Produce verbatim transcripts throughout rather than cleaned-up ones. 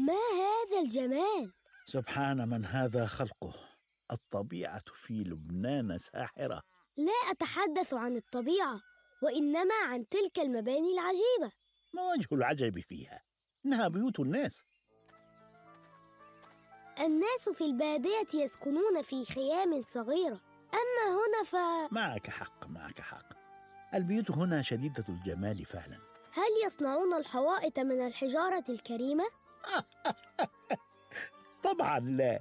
ما هذا الجمال؟ سبحان من هذا خلقه. الطبيعة في لبنان ساحرة. لا أتحدث عن الطبيعة، وإنما عن تلك المباني العجيبة. ما وجه العجب فيها؟ إنها بيوت الناس. الناس في البادية يسكنون في خيام صغيرة، أما هنا ف... معك حق معك حق. البيوت هنا شديدة الجمال فعلا. هل يصنعون الحوائط من الحجارة الكريمة؟ طبعا لا،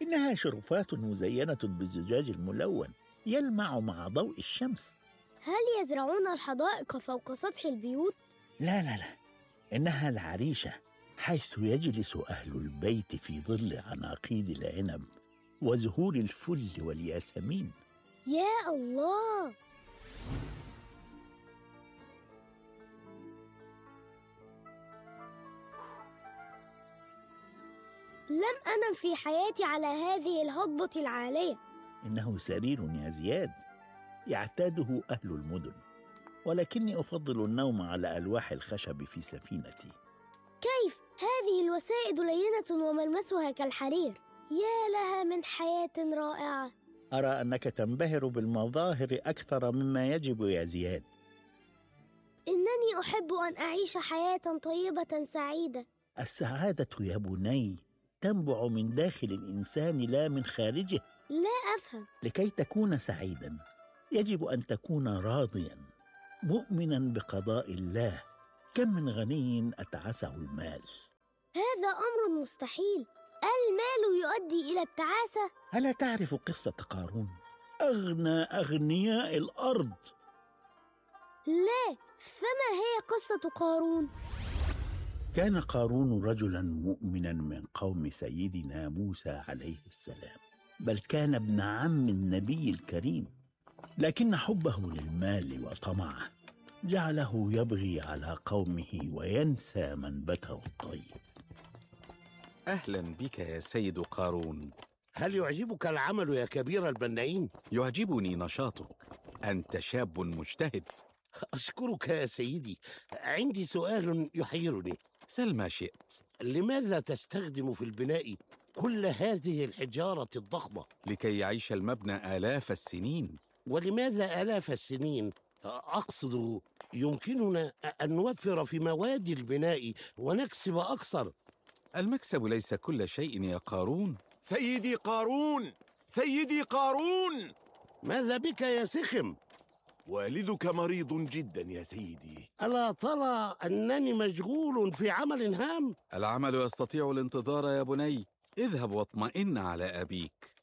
إنها شرفات مزينة بالزجاج الملون يلمع مع ضوء الشمس. هل يزرعون الحدائق فوق سطح البيوت؟ لا لا لا، إنها العريشة، حيث يجلس أهل البيت في ظل عناقيد العنب وزهور الفل والياسمين. يا الله! لم أنم في حياتي على هذه الهضبة العالية. إنه سرير يا زياد يعتاده أهل المدن، ولكني أفضل النوم على ألواح الخشب في سفينتي. كيف؟ هذه الوسائد لينة وملمسها كالحرير. يا لها من حياة رائعة. أرى أنك تنبهر بالمظاهر أكثر مما يجب يا زياد. إنني أحب أن أعيش حياة طيبة سعيدة. السعادة يا بني تنبع من داخل الإنسان لا من خارجه. لا أفهم. لكي تكون سعيدا يجب أن تكون راضيا مؤمنا بقضاء الله. كم من غني أتعسه المال. هذا أمر مستحيل. المال يؤدي إلى التعاسة. ألا تعرف قصة قارون أغنى أغنياء الأرض؟ لا، فما هي قصة قارون؟ كان قارون رجلا مؤمنا من قوم سيدنا موسى عليه السلام، بل كان ابن عم النبي الكريم، لكن حبه للمال وطمعه جعله يبغي على قومه وينسى منبته الطيب. أهلا بك يا سيد قارون. هل يعجبك العمل يا كبير البنائين؟ يعجبني نشاطك، أنت شاب مجتهد. أشكرك يا سيدي. عندي سؤال يحيرني. سل ما شئت. لماذا تستخدم في البناء كل هذه الحجارة الضخمة؟ لكي يعيش المبنى آلاف السنين. ولماذا آلاف السنين؟ أقصد يمكننا أن نوفر في مواد البناء ونكسب أكثر. المكسب ليس كل شيء يا قارون. سيدي قارون، سيدي قارون، ماذا بك يا سخم؟ والدك مريض جدا يا سيدي. ألا ترى أنني مشغول في عمل هام؟ العمل يستطيع الانتظار يا بني. اذهب واطمئن على أبيك.